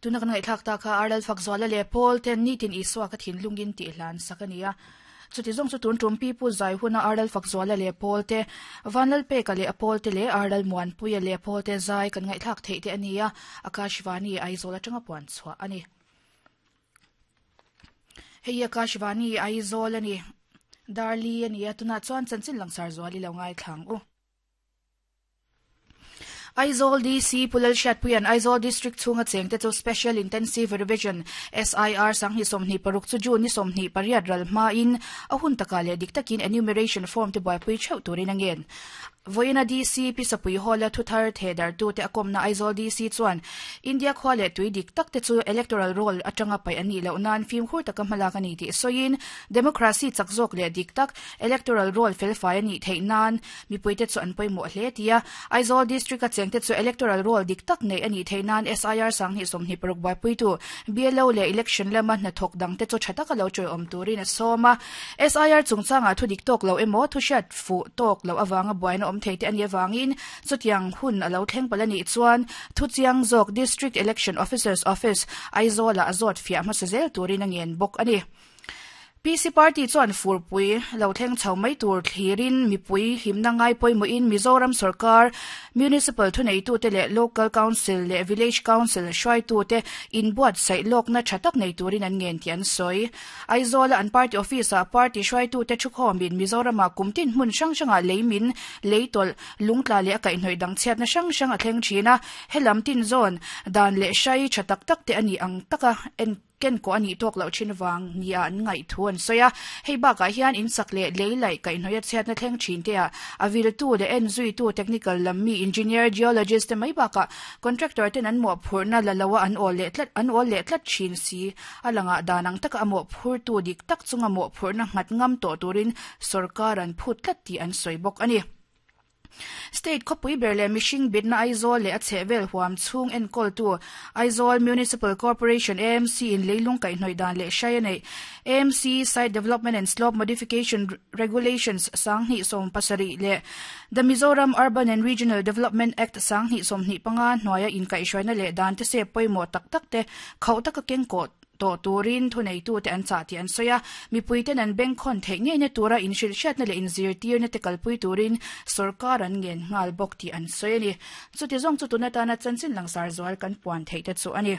Tuna kan ngaihthlak ta kha Arlal Fakzuala leh Paul ten nitin Isua ka thinlungin tih hlan sak a ni a. Chuti zawng chu tun tum Pipu zai huna Arlal Fakzuala leh Paul te, Vanlalpeka leh a Paul te leh Arlal Muanpuia leh Paul te zai kan ngaihthlak theih te a ni a, Akashvani Aizawl atanga puan chhuah a ni. Hei hi Akashvani Aizawl a ni. Darli a ni a, tunah chuan chanchin langsar zual i lo ngaithla ang u. Aizawl DC Pu Lalhriatpuia'n Aizawl District chhunga chengte chu Special Intensive Revision, SIR, 2026 chu June ni 28 ral hmain a hun takah leh dik takin enumeration form te buaipui theuh turin a ngen. Vawiina DC Pi Sapui Hall-a thuthar thehdarhtute a kawmna Aizawl DC chuan India khua leh tui dik tak te chu electoral roll atanga paih an nih loh nan fimkhur taka hmalak a ni tih sawiin democracy chak zawk leh dik tak electoral roll felfai a nih theih nan Mipuite chu an pawimawh hle tia Aizawl District-a chengte chu electoral roll dik tak neih a nih theih nan SIR 2026 buaipuitu BLO leh election lama hnathawk dangte chu tha taka lo ṭawiawm turin a sawm a. SIR chungchangah thu dik tawk lo emaw thu hriat fuh tawk loh avanga buaina awm thei te a nih avangin chutiang hun a lo thleng palh a nih chuan thu chiang zawk District Election Officer's Office, Aizawl-ah a zawt fiah hmasa zel turin a ngen bawk a ni. PC Party chuan furpui lo thleng chho mai tur thlirin mipui hlimna ngai pawimawhin Mizoram sawrkar, Municipal thuneitute leh Local Council leh Village Council hruaitute inbuatsaih lawkna tha tak nei turin an ngen tih an sawi. Aizawla an party office-ah party hruaitute thukhawmin Mizoramah kum tin hmun hrang hrangah lei min, lei tawlh, lungtla leh a kaihhnawih dang chhiatna hrang hrang a thleng thin a, helam tin zawn dan leh hrai tha tak tak te a nih ang taka en Ken kawh a nih tawk loh thin vang nia an ngaih thu an sawi a. Hei bakah hian in sak leh lei laih kaihhnawih a chhiatna thleng thin te ah a viltu leh en zuitu technical lam mi engineer, geologist te mai bakah contractor ten an mawhphurhna la lo a an awl leh tlat an awl leh tlat thin si. A langah dan ang taka a mawhphurtu dik tak chunga mawhphurhna nghat ngam tawh turin sorkar an phut tlat tih an sawi bawk a ni. State khawpui ber leh mihring bitna Aizawl leh a chhehvel huam chhung enkawltu Aizawl Municipal Corporation, AMC, in leilung kaihhnawih dan leh hrai a neih. AMC Site Development and Slope Modification Regulations 2017 leh The Mizoram Urban and Regional Development Act 2025 hnuaia inkaihhruaina leh dan te sep pawimawh tak tak te khauh taka kengkawh tawh turin thuneitute an chah tih an sawi a, mipuiten an bengkhawn theih ngeina tura inhrilhhriatna leh inzirtirna te kalpui turin sawrkar an ngen nghal bawk tih an sawi a ni. Chuti zawng chu tun atana chanchin langsar zual kan puan theih te chu a ni.